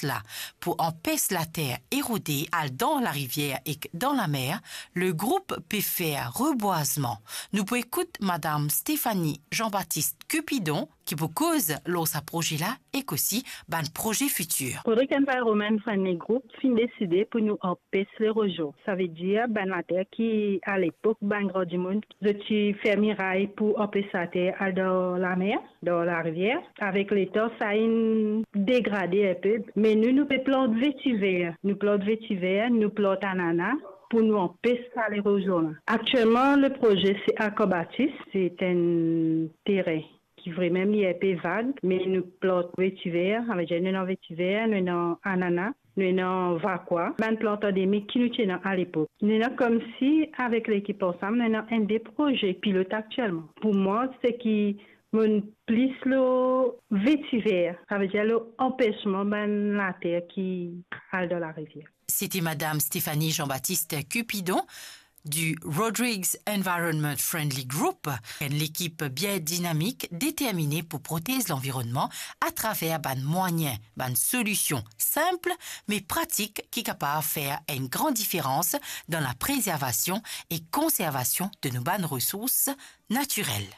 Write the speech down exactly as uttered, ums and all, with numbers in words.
la pou anpes later erode al dan larivier ek dan lamer, le group pe fer rebwazman. Nou pou ekout Madam Stéphanie Jean-Baptiste Cupidon, ki pou koz lor sa proze la ek osi bann proze fitir. Rodrigues Environment Friendly Group finn deside pou nou anpes lerozion. Savedir bann later ki, alepok, bann gran dimoun, zot ti fer miray pou anpes later al dan lamer, dan larivier. Avek letan, sa inn degrade inpe. Me nou, nou pe plant vetiver. Nou plant vetiver, nou plant anana pou nou anpes sa lerozion la. Aktielman, le proze se Arc en Bâtisse, se enn teren ki vremem li inpe vag, me nou plant vetiver, savedir nou ena vetiver, nou ena anana, nou ena vakwa, bann plant andemik ki nou ti ena alepok. Nou ena koumsi avek lekip ansam, nou ena enn de proze pilot aktielman. Pou mwa, seki monn plis lor vetiver, savedir lor anpesman bann later ki al dan larivier. Sete Madam Stéphanie Jean-Baptiste Cupidon du Rodrigues Environment Friendly Group, enn lekip bien dinamik, determine pou protez lanvironnman atraver bann mwayin, bann solision sinp me pratik ki kapav fer enn gran diferans dan laprezervasion e konservasion de nou bann resours natirel.